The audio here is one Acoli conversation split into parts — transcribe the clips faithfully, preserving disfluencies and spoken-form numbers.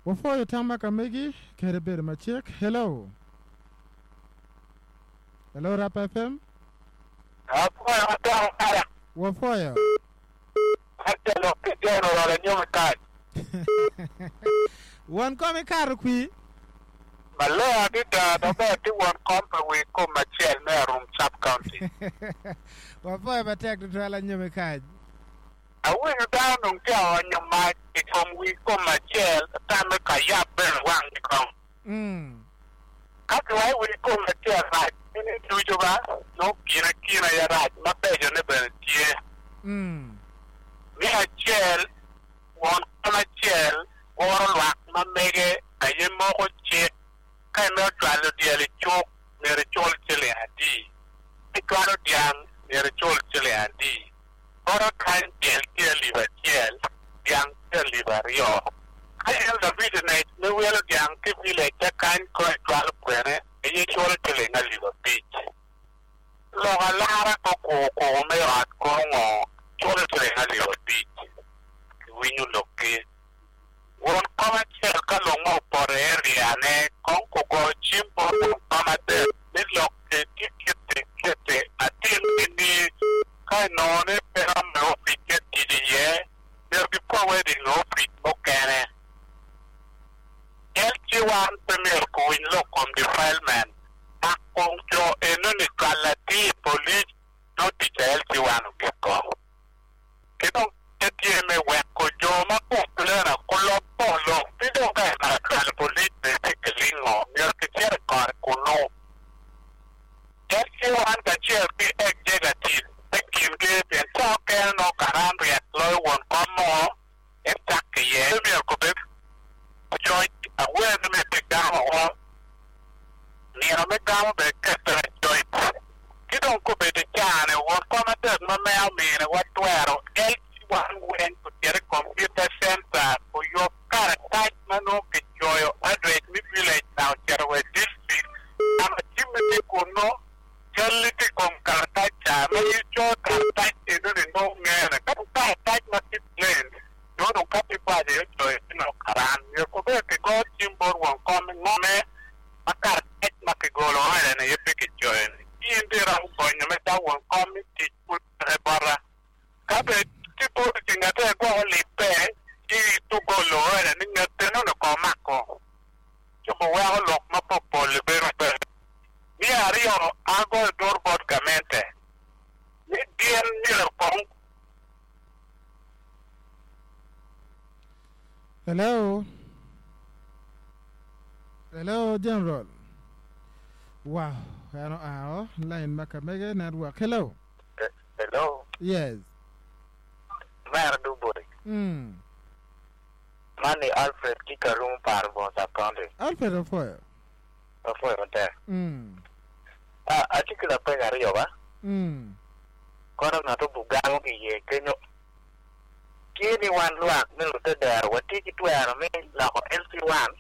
Wafoyo tama ka megi kede bedo macek. Hello. Hello Rap F M. Afoyo atamo kara. Wafoyo. Atelo ki General Anyomi Kaj. Won kom ikato kwi. Maler adada maber ti won kom pa wi kom acel me Arum Sub County. Wafoyo matek tutwal Anyomi Kaj. Awinyo dano dong tye aonyo mac i kom wi kom acel tame ka yab bene wang kong. Mm. Ka kiwaco wi kom acel rac ni ducu ba nongo kine kine aye rac mabecone bene tye. Mm. Me acel won kom acel guro lwak ma mege aye moko cik ka imito cwalo dyel i cuk myero icul ciling adi, ka icwalo dyang myero icul ciling adi. Bota kany dyel tye alip acel, dyang tye alip aryo. Ka elder business me wilo dyang ki village kany ko icwalo kwene aye culo ciling alip abic. Lok alara ko kuku me ot kono ngo culo ciling alip abic. Kiwinyo lokki. Won kom acel ka lok mo opoto i area-ne kong kugo cim bot won kom adek ni lok tye kiti kiti atim ni ka inongo ni pe romo i opic me tic iye myero giforward i opic mukene. L C one pe myero kuwiny lok kom defilement mak kong jo enoni cwalo atir i police no tic a L C one ogiko. Ki dong tye me weko jo ma complain kulob lok ti dong ka imako cwalo police bene kilingo myero kicit i kore kunu. L C one kacel ki executive me kingi pien ca okene nongo karan ryek loyo won kom mo en cak iye myero kubed coc awer ni myero gamo o nino me gamo bene kete coc ki dong kobedo i caa-ni won kom adek ma mea ominiwa twero L C one weng ocito i computer center oyub karatac ma nongo kicoyo address me village na ocito wa i district kama cimmi tye kunu calli tye i kom karatac ca ma ico karatac enoni nongo ngene ka dong karatac ma tye plain nongo dong ka tye kwaco ocoyo ci nongo karan myero kubed kigo cim bot won kom ngome ma karatac ma kigolo ode-ni aye pe kicoyo-ni in dong iromo gonyo me ca won kom mi tic pud peke bota ka bed tye boti ci ngate gwoko lippe ci tugolo ode ni ngete nongo ko mako ci weko lok ma popol bedo pe. Me aryo agoyo dur bot gamente ni gin myero kong Hello. Hello, General. Wow. Ano ao line ma kamege network. Hello. Hello. Yes. Mera Duboy. Mm. Mani Alfred Kikarum Parbo Sub County. Alfred Ofoyo. Ofoyo matek. Mm. Ah, atye ki lapeny aryo ba. Mm. Kono ng'ato bugamo ki iye kenyo. Tye ni wan lwak me lutedero watye ki twero me loko L C one.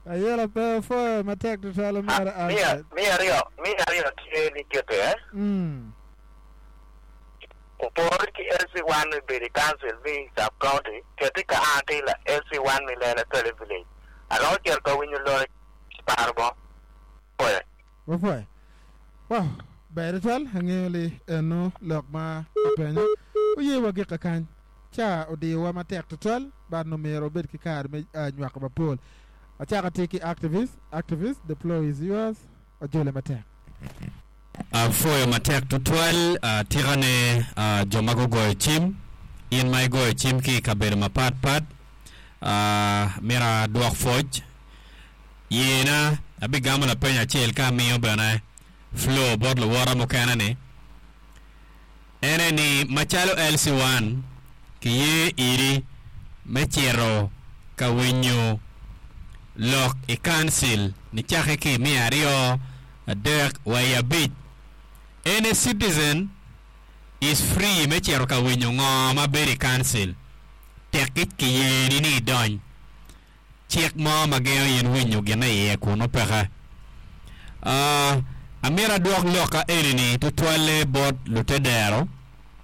Ayela pe Ofoyo matek tutwal mera Ah, mi Alfred. mi aryo mi aryo tye ni kete eh. Mm. Opore ki L C one mi bedo i council mi sub county keti ka an ti la L C one mi Lela Tole village. Aromo cito ka winyo lok paro bo. Ofoyo. Ofoyo. Wow. Ber tutwal ang'eyo li eno lok ma openyo. Oye wa gika kany. Ca odiyowa matek tutwal but no myero obed ki kare me uh, nywako mapol. Achako tye ki activist. Activist, the floor is yours. Ojole matek. Afoyo matek tutwal uh, tikane uh, jo ma gugoyo cim in ma igoyo cim ki i kabedo mapat pat uh, mito adwok pwoc yena abigamo lapeny acel ka amiyo bene floor bot luwota mukene ni ene ni macalo L C one kiye iri me cito ka winyo lok i council nicake ki miya aryo adek wa i abic. Any citizen is free me cito ka winyo ngo ma bedo i council tekki kiyeni ni idony cik mo ma gengo in winyo gin iye kunu peke. uh, amito adwok lok ka eni-ni tutwalle bot lutedero.